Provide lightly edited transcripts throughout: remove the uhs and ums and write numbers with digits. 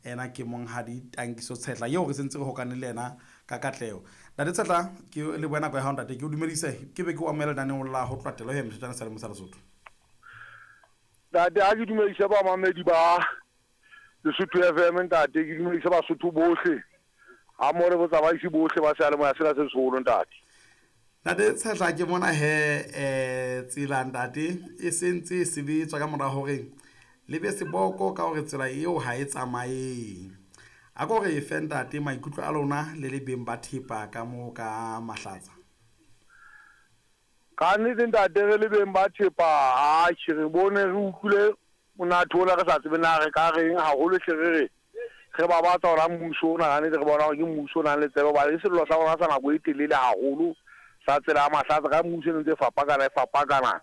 Ena ke monghadi Tankiso Tshehla eo re sentse re hokane le yena ka katleho. Ntate Tshehla, ke lebohe nako ya hao ntate, ke o dumedise, ke be ke o amohele lenaneong la ho tloha telo he Mosotjana Seyalemoya sa Lesotho. Ntate, ha ke dumedise bamamedi ba Lesotho FM ntate, ke dumedise Basotho bohle ha mmoho le botsamaisi bohle ba seyalemoya sena se seholo ntate. Ntate Tshehla, ke mona he tsela ntate e sentse e sebetswa ka mora hore le be seboko ka hore tsela eo ha e tsamaye. A ko re fe ntate maikutlo a lona le le beng ba thepa ka moo ka Mahlatsa. Ka nnete ntate re le beng ba thepa atjhe re bone re utlwile monate ona re sa tsebe na re ka reng haholo hle re re re babatsa ona mmuso ona ka nnete re bona hore ke mmuso o nang le tsebe hobane ke sello sa rona sa nako e telele haholo sa tsela ya Mahlatsa ka mmuso e ne ntse e fapakana e fapakana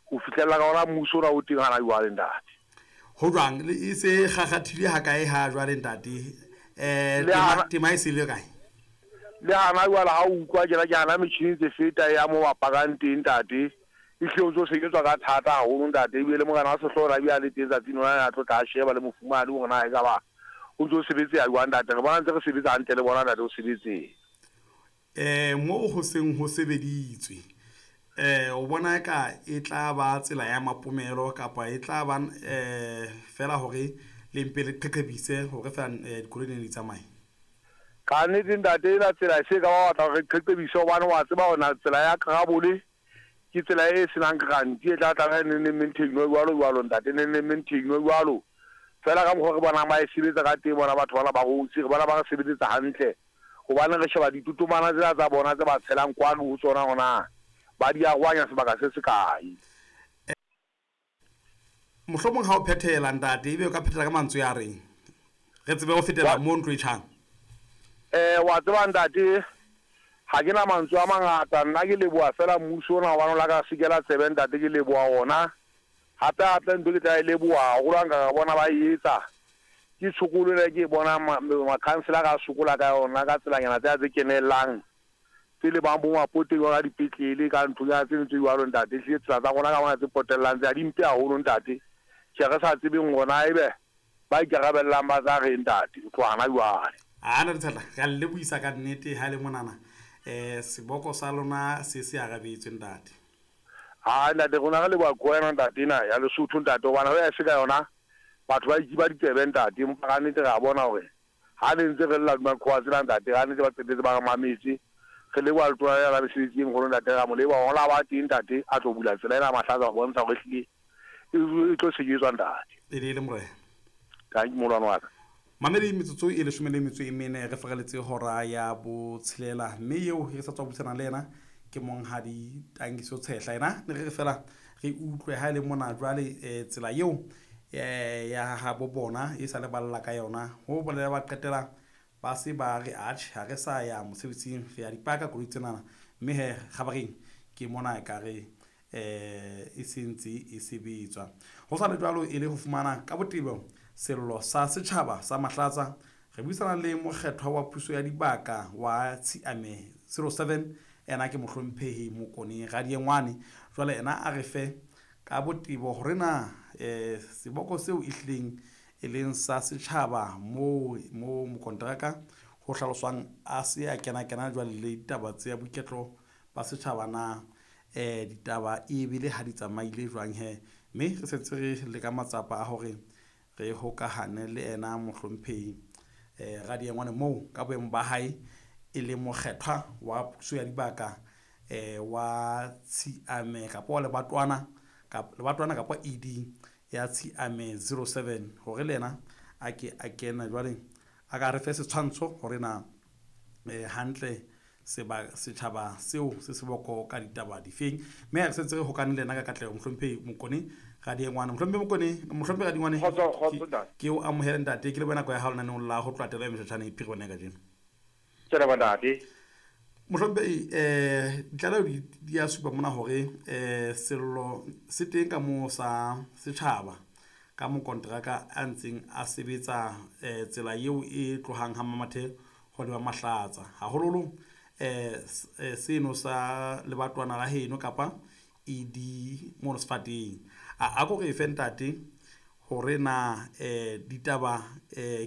ho fihlella ka ona mmuso ona o teng hana jwale ntate. Ho jwang e se kgakgathile ha kae ha jwale ntate? Tema e se le kae? Le hana jwale ha o utlwa tjena ke hana metjhini e ntse feta e ya mo ba pakang teng ntate. Ehlile ho ntso sebetswa ka thata haholo ntate, ebile le morena wa sehlooho o ne a bile a le teng tsatsing lona a tlo tla a sheba le mofumahadi hore na ekaba ho ntso sebetseha jwang ntate. Re bona ntse re sebetsa hantle le bona ntate ho sebetseha. Moo ho seng ho sebeditswe, o bona eka e tla ba tsela ya mapomelo kapa e tla ba feela hore le mpe le qheqhebise hore feela dikoloi di ne di tsamaye? Ka nnete ntate, ena tsela e se ka ba batla hore re qheqhebise hobane wa tseba hore na tsela ya Krabole ke tsela e senang guarantee e tla tlameha neng neng maintain-we jwalo jwalo ntate, neng neng maintain-we jwalo. Feela ka mokgwa re bonang ba e sebetsa ka teng bona batho bana ba Rhodes, re bona ba re sebeletsa hantle hobane re sheba ditotomana tsena tsa bona tse ba tshelang kwano ho tsona hore na ba di arohanya sebaka se se kae. Mohlomong ha o phethela ntate, ebe o ka phethela ka mantswe a reng, re tsebe ho fetela mo ntlo e tjhang. Wa tseba ntate, ha ke na mantswe a mangata, nna ke leboha feela mmuso ona hobane o la ka sekela tsebe ntate, ke leboha ona. Hape hape ntho ke tla e leboha haholo ha nka ka bona ba e etsa, ke tshokolo ena e ke e bonang makhanselara a sokola ka yona ka tselanyana tsena tse kenellang. Tse lebang bo mapoteng jwalo ka dipetlele, ka nthonyana tse ding tse jwalo ntate. Ehlile tsela tsa rona ka mona tse potellang tsena di mpe haholo ntate. Tjhe re sa tsebeng hore na ebe ba ikarabellang ba tla reng ntate ho tloha hana jwale. Aa Ntate Tshehla, re a le lebohisa ka nnete ha e le monana seboko sa lona se se arabetswe ntate. Aa ntate rona re leboha koena ntate ena ya Lesotho ntate hobane ho ya e se ka yona batho ba ikiba ditsebe ntate empa ka nnete re a bona hore Ha ne ntse re lla hodima qhowa tsena ntate, ka nnete ba qetetse ba re mametse. Re leboha letona lena la mesebetsi e meholo ntate, re a mo leboha hore la ba teng ntate a tlo bula tsela ena ya Mahlatsa ho bontsha hore ehlile e tlo sebetswa ntate. E ne e le morena. Tanki moholwane wa ka. Mamedi, metsotso e leshome le metso e mene re fereletse hora ya botshelela, mme eo re sa tswa buisana le yena ke monghadi Tankiso Tshehla. Ena ne re re fela re utlwe ha e le mona jwale tsela eo ya habo bona e sa le balla ka yona ho bolela ba qetela ba se ba re atjhe ha re sa ya mosebetsing re ya dipaka koloi tsenana mme he kgabareng ke mona e ka re e sentse e sebetswa ho sa le jwalo e le ho fumana ka botebo sello sa setjhaba sa Mahlatsa re buisana le mokgethwa wa puso ya dibaka wa Tshiame 07 ena ke mohlomphehi Mokone Radiengwane jwale ena a re fe Ka botebo hore na seboko seo e hlileng e leng sa setjhaba moo moo mokonteraka ho hlaloswang a se a kena-kena jwale le ditaba tsa boiketlo ba setjhaba na ditaba e bile ha di tsamaile jwang he. Mme re sentse re leka matsapa a hore re hokahane le ena mohlomphehi Radiengwane moo ka boemo ba hae e leng mokgethwa wa puso ya dibaka wa Tshiame kapa wa lebatwana lebatwana kapa ED ya Tshiame 07 hore le yena a ke a kene jwale a ka re fe setshwantsho hore na hantle setjhaba seo se seboko ka ditaba difeng mme re sentse re hokane le yena ka katleho mohlomphehi Mokone Radiengwane. Mohlomphehi Mokone, mohlomphehi Radiengwane, ke o amohele ntate, ke lebohe nako ya hao lenaneong la ho tloha telo ya meshotjhane Phiribane ya kajeno. Ke leboha ntate. Mohlomphehi, ditlaleho di a supa mona hore sello se teng ka moo sa setjhaba ka mokonteraka a ntseng a sebetsa tsela eo e tlohang ha Mamathe ho leba Mahlatsa. Haholoholo seno sa lebatwana la heno kapa ED mono sefateng. A ko re fe ntate hore na ditaba.